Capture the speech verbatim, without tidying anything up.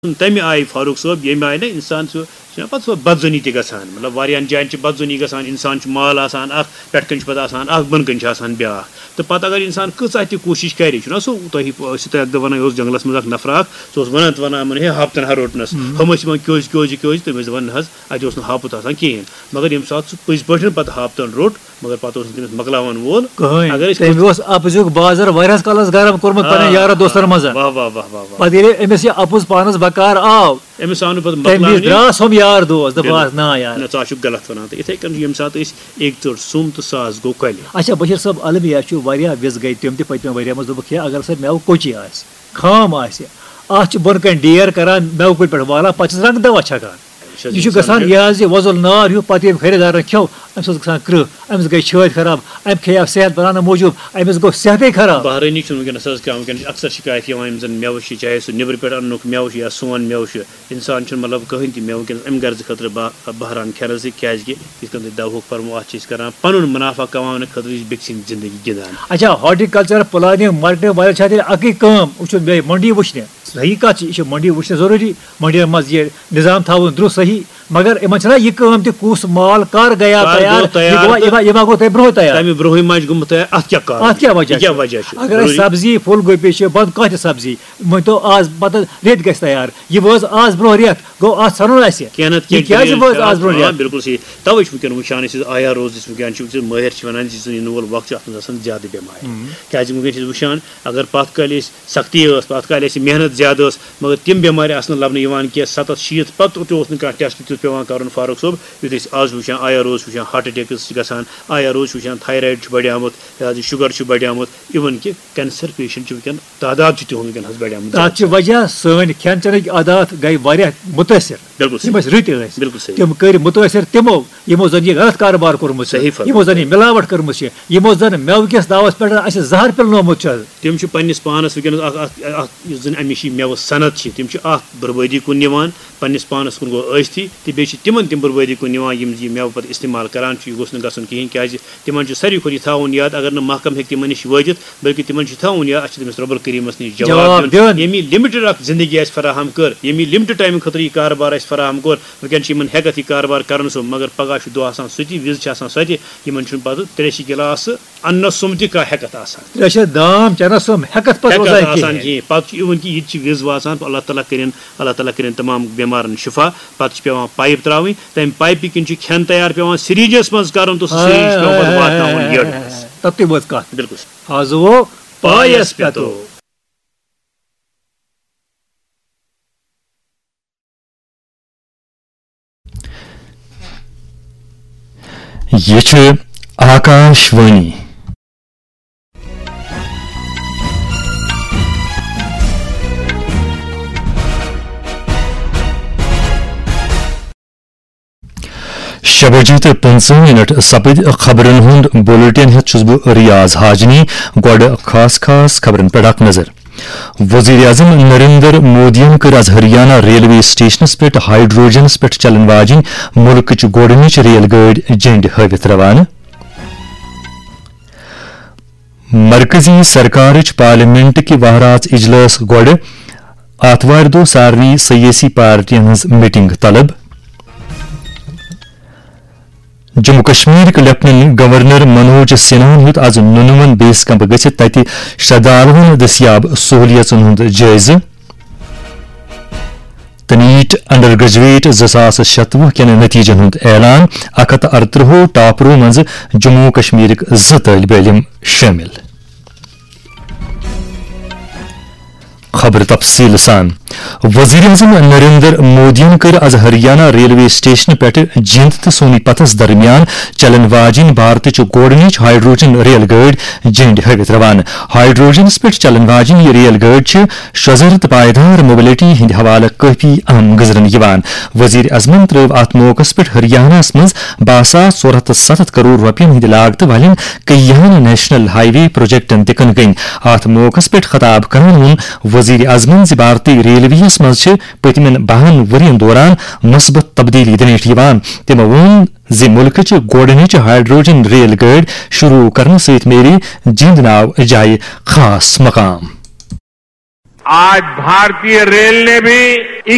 تَمہِ آیہِ فاروق صٲب، ییٚمہِ آیہِ نہٕ اِنسان چھُ، چھُنہ پَتہٕ سُہ بدظٲنی تہِ گژھان۔ مطلب، واریاہَن جایَن چھِ بدظٲنی گژھان، اِنسان چھُ مال آسان اَکھ، پٮ۪ٹھ کَنۍ چھُ پَتہٕ آسان اَکھ، بۄنہٕ کَنۍ چھُ آسان بیٛاکھ۔ تہٕ پَتہٕ اگر اِنسان کۭژاہ تہِ کوٗشِش کَرِ، چھُنہ سُہ تۄہہِ ٲسِو تُہۍ اَکہِ دۄہ وَنان، یہِ اوس جنٛگلَس منٛز اَکھ نفرا اَکھ، سُہ اوس وَنان تہٕ وَنان، یِمَن، "ہے، ہاپتَن ہا روٚٹنَس۔" ہُم ٲسۍ یِوان، "کیٛازِ، کیٛازِ، کیٛازِ؟" تٔمۍ ٲسۍ دَپان، "نہ حظ، اَتہِ اوس نہٕ ہاپُت آسان کِہیٖنۍ۔" مگر ییٚمہِ ساتہٕ سُہ پٔزۍ پٲٹھۍ پَتہٕ ہاپتَن روٚٹ، مگر پَتہٕ اوس نہٕ تٔمِس مۄکلاوَن وول۔ کٕہٕنۍ۔ اگر أسۍ تٔمۍ اوس اَپزیُک بازر واریاہَس کالَس گرم کوٚرمُت پنٛنٮ۪ن آ، یارو دوستَن منٛز۔ واہ، واہ، واہ، واہ، واہ۔ پَتہٕ ییٚلہِ أمِس یہِ اَپُز پانَس بکار آو، أمِس آو نہٕ پَتہٕ تٔمۍ وِزِ مۄکلاونہِ۔ درٛاس ہُم یار دوس، دوٚپہَس، بِلکُل۔ "نا یار۔" نہ، ژٕ آسُکھ غلط وَنان۔ تہٕ یِتھَے کٔنۍ چھُ ییٚمہِ ساتہٕ أسۍ أکۍ ژٔٹ سُم تہٕ ساس گوٚو کۄلہِ۔ اچھا، بشیٖر صٲب، المیہ چھُ واریاہ وِژھ گٔے تِم تہِ پٔتمہِ ؤریہِ منٛز، دوٚپُکھ، "ہے، اگر سا مٮ۪وٕ کوٚچی آسہِ، خام آسہِ، اَتھ چھِ بۄنہٕ کَنہِ ڈیر کَران، مٮ۪وٕ کُلۍ پٮ۪ٹھ والان، پَتہٕ چھِس رَنٛگ دَوا چھَکان۔" یہِ چھُ گژھان یہِ حظ یہِ وۄزُل نار ہیوٗ، پَتہٕ ییٚمہِ خریٖدارَن کھیوٚو، أمِس اوس گژھان کرٛہ، أمِس گٔے چھٲتۍ خراب، أمۍ کھیٚیو صحت بَناونہٕ موٗجوٗب، أمِس گوٚو صحتٕے خراب۔ بحرٲنی چھُنہٕ وٕنکیٚنَس حظ کانٛہہ، وٕنکیٚنَس چھِ اَکثر شِکایت یِوان، یِم زَن مٮ۪وٕ چھِ، چاہے سُہ نیٚبرٕ پٮ۪ٹھ اَننُک مٮ۪وٕ چھُ یا سون مٮ۪وٕ چھُ، اِنسان چھُنہٕ، مطلب، کٕہٕنۍ تہِ مٮ۪وٕ وٕنکیٚنَس اَمہِ غرضہٕ خٲطرٕ با-، بحران کھٮ۪نَس سۭتۍ، کیٛازِکہِ یِتھ کٔنۍ تۄہہِ دَوہُک فرمو، اَتھ چھِ أسۍ کَران پَنُن مُنافع کَماونہٕ خٲطرٕ، یہِ چھِ بیٚکہِ سٕنٛدِ زِندگی گِنٛدان۔ اچھا، ہارٹیکلچر پلاننگ مارکیٹنگ والٮ۪ن چھا تیٚلہِ اَکٕے کٲم، وٕچھُن بیٚیہِ مٔنڈی وٕچھنہِ؟ صحیح کَتھ چھِ، یہِ چھِ مٔنڈی وٕچھنہِ ضروٗری، مٔنڈیَن منٛز یہِ نظام تھاوُن درٛوٚ صحیح، مگر یِمَن چھَنا یہِ کٲم تہِ، کُس مال کَر گٔیاو کَر تیار، گوٚو تیار یہِ گوٚوا، تہٕ یہِ ما، یہِ ما گوٚو تۄہہِ برٛونٛہہ تیار؟ تَمہِ برٛونٛہٕے ما چھِ گوٚمُت تیار؟ اَتھ کیٛاہ کارُن اَتھ کیٛاہ چھُ؟ وجہ یہِ کیٛاہ چھُ؟ وجہ چھُ؟ اگر أسۍ ضروٗری۔ سبزی، پھول گوبی چھِ، بَد کانٛہہ تہِ سبزی، مٲنۍ تو آز پَتہٕ رٮ۪تھ گژھِ تیار، یہِ وٲژ آز برٛونٛہہ رٮ۪تھ، گوٚو اَتھ ژھَنُن اَسہِ۔ کینٛہہ نَتہٕ یہِ کینٛہہ کیٛازِ delay وٲژ چھِ آز آز، برٛونٛہہ آ، رٮ۪تھ؟ بِلکُل صحیح۔ تَوَے چھِ وٕنکیٚن وٕچھان أسۍ، یُس آیا روز یُس وٕنکیٚن چھِ، یُس مٲہِر چھِ وَنان زِ یُس زَن یِنہٕ وول وقت چھُ، اَتھ منٛز آسان زیادٕ بٮ۪مارِ۔ ہُم۔ کیٛازِ وٕنکیٚن چھِ أسۍ وٕچھان، اگر پَتھ کالہِ أسۍ سختی ٲس، پَتھ کالہِ اَسہِ محنت زیادٕ ٲس، مگر تِم بٮ۪مارِ آسہٕ نہٕ لَبنہٕ یِوان کینٛہہ۔ سَتَتھ شیٖتھ پَتہٕ تہِ اوس نہٕ کانٛہہ ٹیسٹ تیُتھ پٮ۪وان کَرُن، فاروق صٲب، یُتھ أسۍ آز چھِ وٕچھان، آیا روز چھِ وٕچھان ہارٹ اٹیکٕس چھِ گژھان، آیا روز چھِ وٕچھان تھایرایڈ چھُ بڑیومُت، یہِ حظ یہِ شُگر چھُ بڑیومُت، even کہِ کینسر پیشنٹ چھِ وٕنکیٚن تعداد چھُ تِہُنٛد وٕنکیٚن حظ بڑیومُت تَتھ چھِ زیادٕ۔ وجہ سٲنۍ کھٮ۪ن چٮ۪نٕکۍ عادات گٔے واریاہ مُتٲثر۔ بِلکُل صحیح۔ یِم اَسہِ رٕتۍ ٲسۍ، بِلکُل صحیح۔ تِم کٔرۍ مُتٲثر تِمو، یِمو زَن یہِ غلط کارٕبار کوٚرمُت چھُ، صحیح فرموو۔ یِمو زَن یہِ مِلاوٹ کٔرمٕژ چھِ، یِمو زَن مٮ۪وٕ کِس دعوس پٮ۪ٹھ اَسہِ زَہر پِلنومُت چھُ۔ تِم چھِ پننِس پانَس وٕنکیٚنَس اَکھ، اَکھ، اَکھ یُس زَن اَمِچ یہِ مٮ۪وٕ صنعت چھِ، تِم چھِ اَتھ بربٲدی کُن نِوان، پننِس پانَس کُن گوٚو ٲسۍتھٕے، تہٕ بیٚیہِ چھِ تِمَن تِم بربٲدی کُن نِوان، یِم یہِ مٮ۪وٕ پَتہٕ استعمال کَران چھِ۔ یہِ گوٚژھ نہٕ گژھُن کِہیٖنۍ، کیٛازِ تِمَن چھُ ساروی کھۄتہٕ یہِ تھاوُن یاد، اگر نہٕ محکمہٕ ہیٚکہِ تِمَن نِش وٲتِتھ، بلکہِ تِمَن چھُ تھاوُن یاد، اَسہِ چھُ تٔمِس رۄبُل کریٖمَس نِش جواب جواب دیُن۔ دیُن۔ ییٚمۍ یہِ لِمِٹٕڈ اَکھ زِندگی اَسہِ فراہم کٔر، ییٚمۍ یہِ لِمٹٕڈ ٹایمہٕ خٲطرٕ یہِ کاربار اَسہِ فراہم کوٚر، وٕنکیٚن چھِ یِمَن ہٮ۪کَتھ یہِ کاربار کَرُن سُہ، مگر پَگاہ چھُ دۄہ آسان سُہ تہِ، وِزِ چھِ آسان سۄ تہِ، یِمَن چھُنہٕ پَتہٕ ترٛیشہِ گِلاسہٕ اَننَس سُم تہِ کانٛہہ ہٮ۪کَتھ آسان۔ ترٛیشہِ دام چٮ۪نَس سُم ہٮ۪کَتھ پَتہٕ ہٮ۪کَتھ روزان آسان کِہیٖنۍ۔ کِہیٖنۍ۔ پَتہٕ چھُ یِوان کہِ یہِ تہِ چھِ وِز واتان، اللہ تعالیٰ کٔرِن، اللہ تعالیٰ کٔرِن تَمام بٮ۪مارَن شِفا۔ پَتہٕ چھِ پٮ۪وان پایِپ ترٛاوٕنۍ، تَمہِ پایپہِ کِنۍ چھُ کھٮ۪ن تیار پٮ۪وان سِرینٛجَس منٛز کَرُن تہٕ سُہ سِرینٛج چھُ پٮ۪وان پَتہٕ واتناوُن یٔڈ منٛز۔ تَتُے وٲژ کَتھ۔ بِلکُل۔ آز ووٚو پایَس پٮ۪تو۔ یہِ چھِ آکاش وانی۔ شےٚ بجے تہٕ پٕنٛژٕہ منٹ سپٕدۍ خبرن ہُنٛد بُلٹن ہٮ۪تھ چھُس بہٕ ریاض حاجنی۔ گۄڈٕ خاص خاص خبرن پٮ۪ٹھ اکھ نظر۔ وزیر اعظم نریندر مودیَن کٔر از ہریانہ ریلوے سٹیشنس پٮ۪ٹھ ہائیڈروجنس پٮ۪ٹھ چلن واجنۍ مُلکٕچ گۄڈٕنِچ ریل گٲڑۍ جنڈِ ہٲوِتھ روانہٕ۔ مرکزی سرکارٕچ پارلیمنٹ کہِ وہرٲژ اجلاس گۄڈٕ آتھوارِ دۄہ سارنٕے سیٲسی پارٹین ہٕنٛز میٹنگ طلب۔ جموں کشمیرٕکۍ لیفٹیننٹ گورنر منوج سنہاہن ہیوٚت از نُنون بیس کیمپ گٔژھِتھ تتہِ شردھالوَن دٔستیاب سہولیژن ہُنٛد جٲیزٕ۔ تہٕ نیٹ انڈر گریجویٹ زٕ ساس شتوُہ کٮ۪ن نتیجن ہُنٛد اعلان، اکھ ہتھ تہٕ ارترٛہو ٹاپرو منٛزٕ جموں کشمیرٕکۍ زٕ طٲلبہِ علم شٲمِل۔ خبر تفصیل سان۔ وزیر اعظم نریندر مودیَن کٔر از ہریانہ ریلوے سٹیشن پٮ۪ٹھ جیند تہٕ سونی پتھس درمیان چلن واجنۍ بھارتٕچ گۄڈٕنِچ ہائیڈروجن ریل گٲڑۍ جنڈ ہٲوِتھ روانہٕ۔ ہائیڈروجنس پٮ۪ٹھ چلن واجنۍ یہِ ریل گٲڑۍ چھِ شۄزر تہٕ پائیدار موبلٹی ہٕنٛدِ حوالہٕ کٲفی اہم گزرن یِوان۔ وزیر اعظمن ترٲو اتھ موقعس پٮ۪ٹھ ہریانہس منٛز باہ ساس ژور ہتھ تہٕ ستتھ کرور رۄپین ہٕنٛدِ لاگتہٕ والٮ۪ن کیاہن نیشنل ہائی وے پروجیکٹن تہِ کٕنۍ کٕنۍ۔ اتھ موقعس پٮ۪ٹھ خطاب کران ووٚن وزیر اعظمن زِ بھارتی ریلوے یس منٛز چھِ پٔتمٮ۪ن بَہَن ؤرین دوران مثبت تبدیلی دٕنِتھ یِوان۔ تٔمۍ ووٚن زِ مُلکٕچ گۄڈٕنِچ ہائیڈروجن ریل گٲڑۍ شروع کرنہٕ سۭتۍ میلہِ جیند ناو جایہِ خاص مقام۔ آج بھارتی ریل نے بھی